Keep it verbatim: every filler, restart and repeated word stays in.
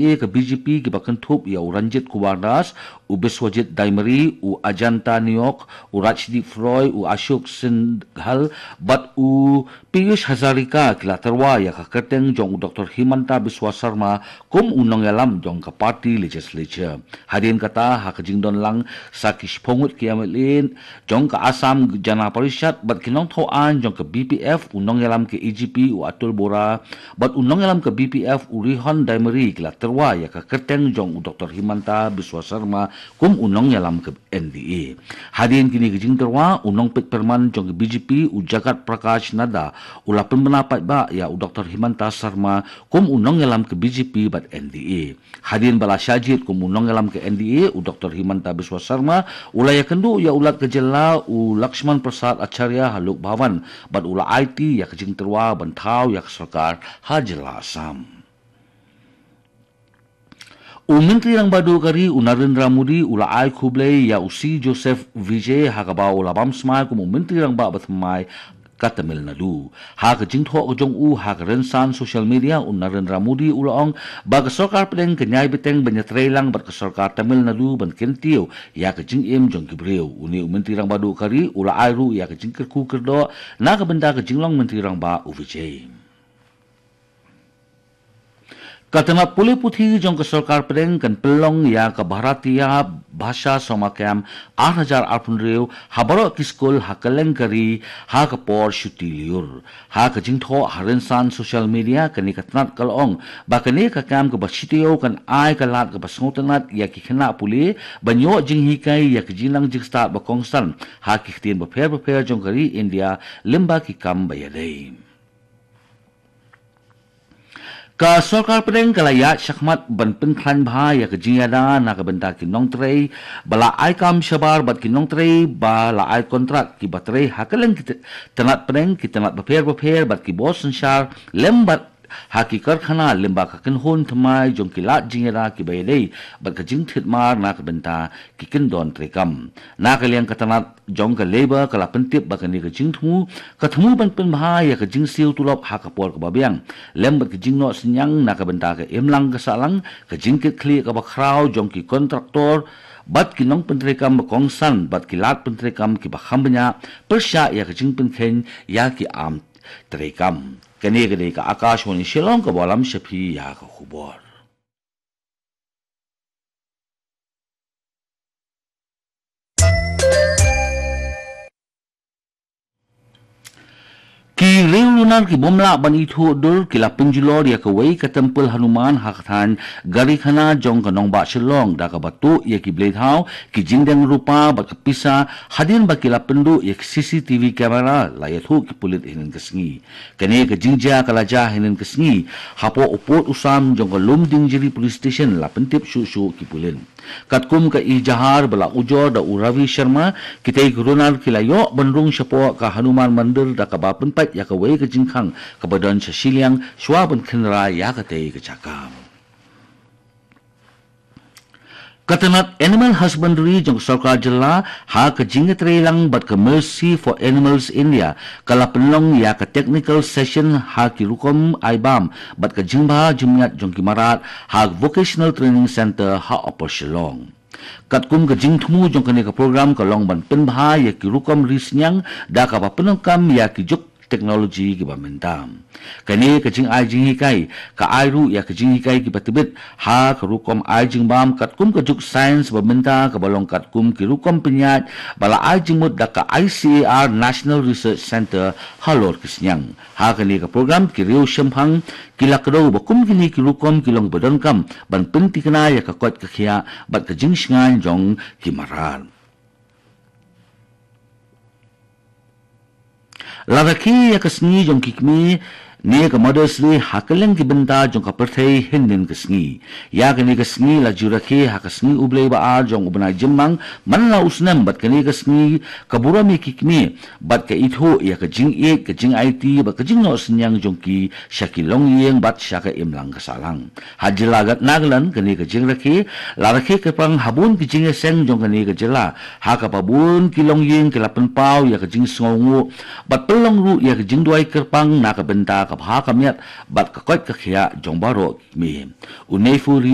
N D A ka B J P kiba kynthup ïa u Ranjit Kumar Das, u Biswajit Daimari, u Ajanta Neok, u Rajdeep Roy, u Ashok Singhal, bad u Piyush Hazarika ki la tyrwa ïa ka kyrteng jong u Doctor Himanta Biswa Sarma kum u nongïalam jong ka party legislature. Hadien kata ha ka jingdon lang sa ki shiphew ngut ki M L A jong ka Assam Jana Parishad bad ki nongthaw aiñ jong ka B P F, u nongïalam ka A G P u Atul Bora bad u nongïalam ka B P F u Rihon Daimari ki la tyrwa ïa ka kyrteng jong u Doctor Himanta Biswa Sarma kum u nongïalam ka N D A. Hadien kine ki jingtyrwa, u nongpeit pyrman jong ka B J P u Jagat Prakash Nadda u la pynbna paidbah ïa u Doctor Himanta Sarma kum u nongïalam ka B J P bad N D A. Hadien ba la shah jied kum u nongïalam ka N D A, u Doctor Himanta Biswa Sarma u la ïakynduh ïa u Lat ka jylla u Lakshman Prasad Acharya ha Lok Bhavan bad u la aiti ïa ka jingtyrwa ban thaw ïa ka sorkar ha jylla Assam. U Myntri Rangbah Duh ka ri u Narendra Modi u la ai khublei ïa u C Joseph Vijay ha kaba u la bam smai kum u Myntri Rangbah ba thymmai ka Tamil Nadu. Ha ka jingthoh ka jong u ha ka rynsan social media, u Narendra Modi u la ong ba ka sorkar pdeng ka ïai bteng ban ïatreilang bad ka sorkar Tamil Nadu ban kyntiew ïa ka jingim jong ki briew. Une u Myntri Rangbah Duh ka ri u la ai ruh ïa ka jingkyrkhu kyrdoh na ka bynta ka jinglong Myntri Rangbah u Vijay. Ka tnat pule puthi jong ka sorkar pdeng kan pynlong ïa ka Bharatiya Bhasha Samakam ar hajar arphew hynriew ha baroh ki skul ha kylleng ka ri ha ka por shuti lyiur. Ha ka jingthoh ha rynsan social media, kane ka tnat ka la ong ba kane ka kam kaba shi taïew kan ai ka lad kaba sngewtynnat ïa ki khynnah pule ban ïoh jinghikai ïa ka jingnang jingstad ba kongsan ha ki ktien bapher bapher jong ka ri India lyngba ki kam ba ïadei. Ka sorkar pdeng ka la ïaid shakhmat ban pynkhlaiñ bha ïa ka jingïada na ka bynta ki nongtrei ba la ai kam shabar bad ki nongtrei ba la ai kontrak kiba trei ha kylleng ki t-, tnat pdeng, ki tnat bapher bapher bad ki bor synshar lem bad ha ki karkhana lyngba ka kynhun thymmai jong ki lad jingïada kiba ïadei bad ka jingthied mar na ka bynta ki kyndon treikam. Na ka liang ka tnat jong ka Labour ka la pyntip ba kane ka jingthmu ka thmu ban pynbha ïa ka jingsiew tulop ha ka por kaba biang lem bad ka jingnoh synñiang na ka bynta ka imlang ka sahlang, ka jingkitkhlieh kaba khraw jong ki kontraktor bad ki nongpyntreikam ba kongsan bad ki lad pyntreikam kiba kham bniah pyrshah ïa ka jingpynkheiñ ïa ki am treikam. Kane ka dei ka Akashvani Shillong kaba lam sha phi ïa ka khubor. Ki riewlunar ki bym lah ban ithuh dur ki la pynjulor ïa kawei ka templ Hanuman ha ka thaiñ Garikhana jong ka nongbah Shillong da kaba tuh ïa ki blei thaw, ki jingdeng rupa bad ka pisa hadien ba ki la pynduh ïa ki C C T V camera, la ïathuh ki pulit hynnin ka sngi. Kane ka jingjia ka la jia hynnin ka sngi hapoh u pud u sam jong ka Lumdiengjri Police Station, la pyntip shuh shuh ki pulit. Katkum ka ejahar ba la ujor da u Ravi Sharma, kitei ki runar ki la ïoh ban rung shapoh ka Hanuman Mandir da kaba pynpait ïa kawei ka jingkhang kaba don sha shiliang shuwa ban khynra ïa katei ka jaka. Ka tnat Animal Husbandry jong ka sorkar jylla ha ka jingïatreilang bad ka Mercy for Animals India ka la pynlong ïa ka technical session ha ki rukom ai bam bad ka jingbha jingmyat jong ki mrad ha Vocational Training Centre ha Upper Shillong. Katkum ka jingthmu jong kane ka program ka long ban pynbha ïa ki rukom ri synñiang da kaba pyndonkam ïa ki juk teknoloji kiba mynta. Kane ka jingai jinghikai ka ai ruh ïa ka jinghikai kiba tbit ha ka rukom ai jingbam katkum ka juk science ba mynta kaba long katkum ki rukom pynïaid ba la ai jingmut da ka I C A R National Research Centre halor ki synñiang. Ha kane ka program ki riew shemphang ki la kdew ba kum kine ki rukom ki long ba donkam ban pyntikna ïa ka koit ka khiah bad ka jingshngaiñ jong ki mrad. La rakhe ïa ka sngi jong ki kmie ne ka Mother's Day ha kylleng ki bynta jong ka pyrthei hynnin ka sngi. Ïa kane ka sngi la ju rakhe ha ka sngi U Blei ba ar jong u bnai Jymmang man la u snem bad kane ka sngi ka burom ïa ki kmie bad ka ithuh ïa ka jingïeit, ka jingaiti bad ka jingnoh synñiang jong ki sha ki longïing bad sha ka imlang ka sahlang. Ha jylla Nagaland kane ka jingrakhe la rakhe kyrpang ha bun ki jingïaseng jong kane ka jylla, ha kaba bun ki longïing ki la pynpaw ïa ka jingsngewnguh bad pynlong ruh ïa ka jingduwai kyrpang na ka bynta ka bha ka miat bad ka koit ka khiah jong baroh ki kmie. U Neiphiu Rio